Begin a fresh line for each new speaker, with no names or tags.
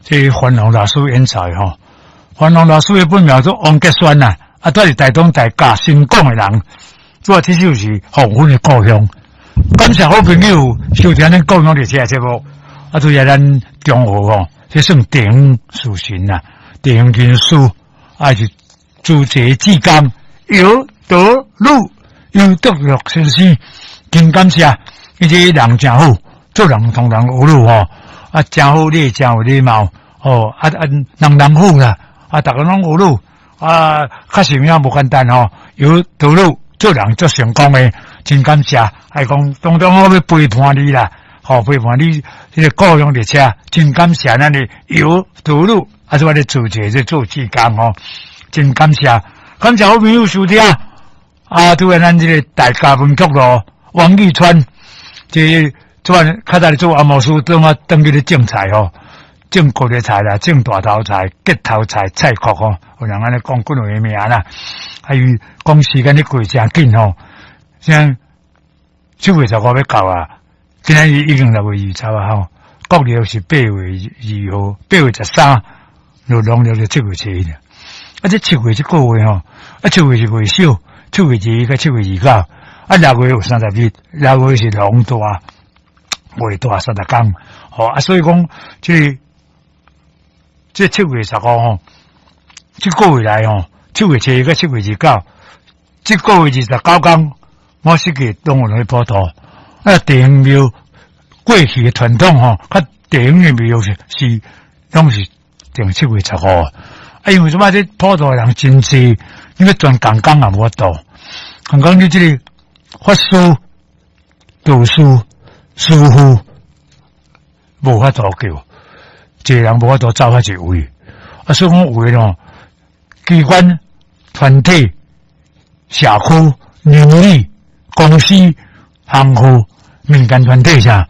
這范龍老師演奏吼，范龍老師的本名做王杰宣啦，啊，住佇台東大甲新港的人，主要這首是黃昏的故鄉。感謝好朋友收聽咱故鄉列車節目，啊，拄則咱中和吼，這算地方士紳啦，地方人士，啊是主持志工姚德祿，姚德祿先生，真感謝，伊這個人誠好，做人同人學魯吼，啊，誠好禮，誠有禮貌，吼，啊啊，人人好啦，啊，逐家攏學魯，啊，確實有影無簡單吼，姚德祿做人足成功的，真感謝，愛講當中我欲陪伴你啦，吼，陪伴你這個故鄉列車，真感謝咱的姚德祿，啊，這我咧做者這做志工吼，真感謝，感謝好朋友收聽，啊，拄仔咱這個大甲文曲路王玉川，這這較早咧做阿摩司，轉啊轉去咧種菜吼，種高麗菜啦，種大頭菜、結頭菜、菜殼吼，有人按呢講幾個名啦，啊，伊講時間咧過誠緊吼，像7月15欲到啊，今仔日已經6月20啊吼，國曆是8月2號，8月13，就農曆就7月7日。啊，這七月這個月吼，啊，七月是月少，7月2佮7月29，啊，六月有30日，六月是龍大，月大30工，吼啊，所以講這個這7月15吼，這個月來吼，7月7佮7月29，這個月29工，我實際攏有去普渡。啊，地方廟過去的傳統吼，較地方的廟是是攏是定7月15。啊，因為什麼？這普渡的人真濟，你欲全共工也無法度。共講你這個法師、道士、師父無法度叫，一個人無法度走遐濟位。啊，所以講有的吼，機關、團體、社區、鄰里、公司、行戶、民間團體啥，